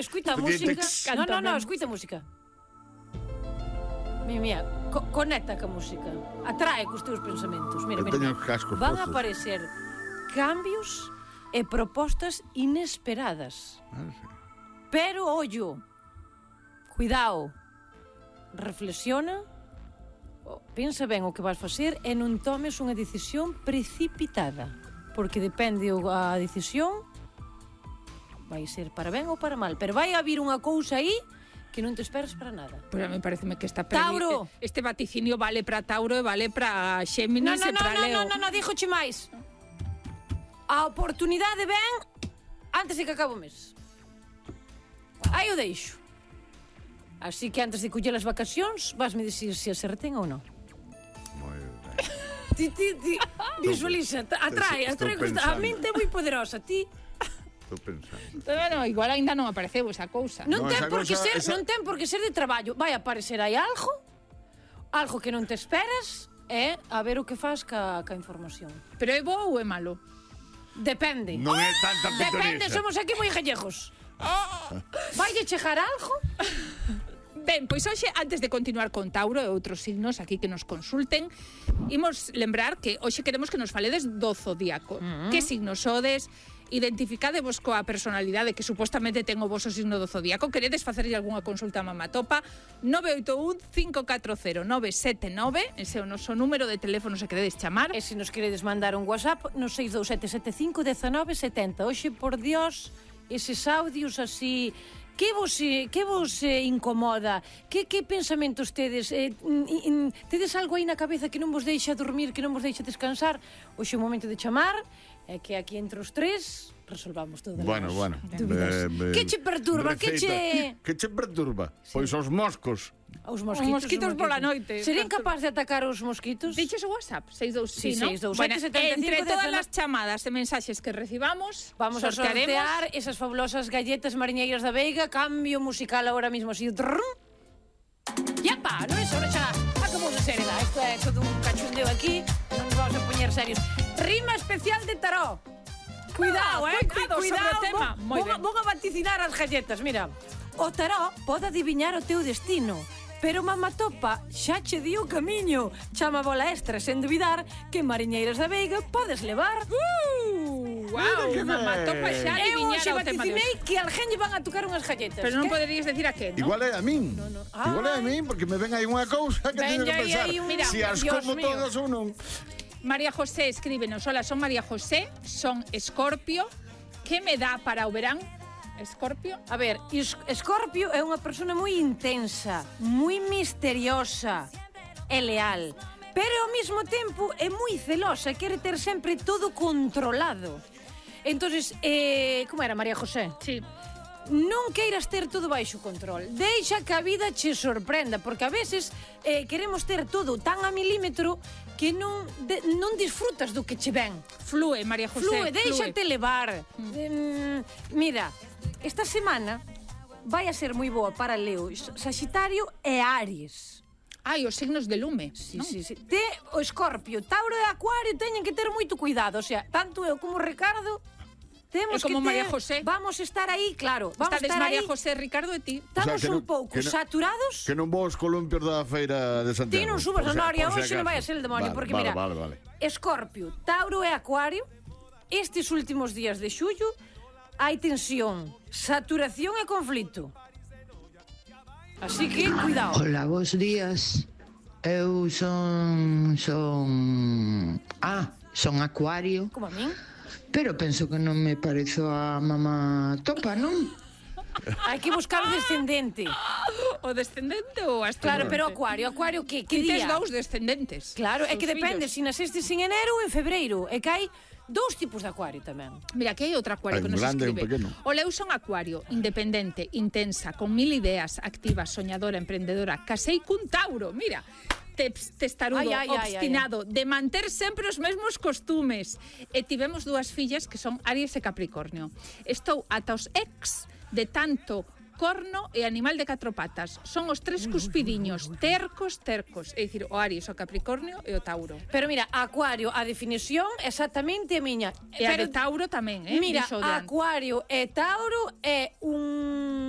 escuita a música. No, escuita a música. Mira, conecta ca música. Atrae cos teus pensamentos. Mira, van a aparecer cambios e propostas inesperadas. Pero, ollo, cuidado, reflexiona, pensa ben o que vas facer e non tomes unha decisión precipitada, porque depende a decisión, vai ser para ben ou para mal, pero vai haber unha cousa aí que non te esperas para nada. Pero a mí pareceme que Tauro. Este vaticinio vale para Tauro e vale para Xéminis e para Leo. Non, díjoche máis. A oportunidade ven antes de que acabe o mes. Aí o deixo. Así que antes de coller as vacacións, vasme dicir se acerten ou non. Moi ben. Ti, visualiza, atrae. A mente é moi poderosa, ti... Estou pensando. Bueno, igual ainda non apareceu esa cousa. Non ten por que ser de traballo. Vai aparecer aí algo que non te esperas, e a ver o que faz ca información. Pero é bo ou é malo? Depende. Non é tanta pitonisa. Depende, somos aquí moi gallejos. Vaille chegar algo? Ben, pois hoxe, antes de continuar con Tauro e outros signos aquí que nos consulten, imos lembrar que hoxe queremos que nos faledes do zodiaco. Que signos sodes? Identificadevos coa personalidade que supostamente ten o voso signo do zodiaco. Queredes facerlle algunha consulta a Mamatopa? 981-540-979, ese é o noso número de teléfono se queredes chamar. E se nos queredes mandar un WhatsApp no 627751970. Hoxe, por Dios, eses audios así... Que vos incomoda? Que pensamentos tedes? Tedes algo aí na cabeza que non vos deixa dormir, que non vos deixa descansar? Hoxe é o momento de chamar, é que aquí entre os tres resolvamos todas as dúbidas. Que che perturba? Que che perturba? Pois os moscos. Os mosquitos pola noite. Serían capaz de atacar os mosquitos? Diches o WhatsApp, 627, Bueno, entre todas as chamadas e mensaxes que recibamos, vamos a sortear esas fabulosas galletas mariñeiras da Veiga. Cambio musical ahora mismo así. Yapa, non é só xa acabou de ser, isto é todo un cachundeo aquí, non nos vamos a poñer serios. Rima especial de tarot. Cuidado, cuidado. Vou a vaticinar as galletas, mira. O tarot pode adiviñar o teu destino, pero Mamatopa xa che di o camiño. Chama bola extra sen duvidar que mariñeiras da Veiga podes levar. Wow, Mamatopa xa adiviñara o tema de hoxe. Vaticinei que alguén lle van a tocar unhas galletas. Pero non poderías decir a quen, non? Igual é a min. Igual é a min, porque me ven aí unha cousa que teño que pensar. Si as como todas ou non. María José escríbenos: hola, son María José, son Escorpio. Que me dá para o verán? Escorpio? A ver, Escorpio é unha persona moi intensa, moi misteriosa e leal, pero ao mesmo tempo é moi celosa, quere ter sempre todo controlado. Entonces, como era María José? Sí. Non queiras ter todo baixo control. Deixa que a vida che sorprenda, porque a veces queremos ter todo tan a milímetro que non disfrutas do que che ven. Flúe, María José. Déixate levar. Mira, esta semana vai a ser moi boa para Leo, Saxitario e Aries. Ai, os signos de lume. Sí. O Escorpio, Tauro e Acuario teñen que ter moito cuidado. O sea, tanto eu como Ricardo temos como que ter... María José. Vamos estar aí, claro. Estades María José, Ricardo e ti. Estamos un pouco saturados. Que non vos columpios da feira de Santiago. Ti non subas a Noria, hoxe non vai a ser el demonio. Porque mira, Escorpio, Tauro e Acuario, estes últimos días de xullo, hai tensión, saturación e conflito. Así que, cuidado. Hola, bons días. Eu son Acuario. Como a min? Pero penso que non me parezo a Mamatopa, non? Hai que buscar o descendente. O descendente ou ascendente? Claro, pero Acuario que día? Tes dous descendentes. Claro, é que depende se nasestes en enero ou en febreiro. É que hai dous tipos de Acuario tamén. Mira, que hai outro Acuario que nos escribe. O Leu son Acuario, independente, intensa, con 1000 ideas, activa, soñadora, emprendedora. Casei cun Tauro, mira. Testarudo, obstinado, de manter sempre os mesmos costumes. E tivemos dúas fillas que son Aries e Capricornio. Estou ata os ex de tanto corno e animal de 4 patas. Son os tres cuspidiños, tercos. É dicir, o Aries, o Capricornio e o Tauro. Pero mira, Acuario, a definición exactamente a miña. E a de Tauro tamén, Mira, Acuario e Tauro é un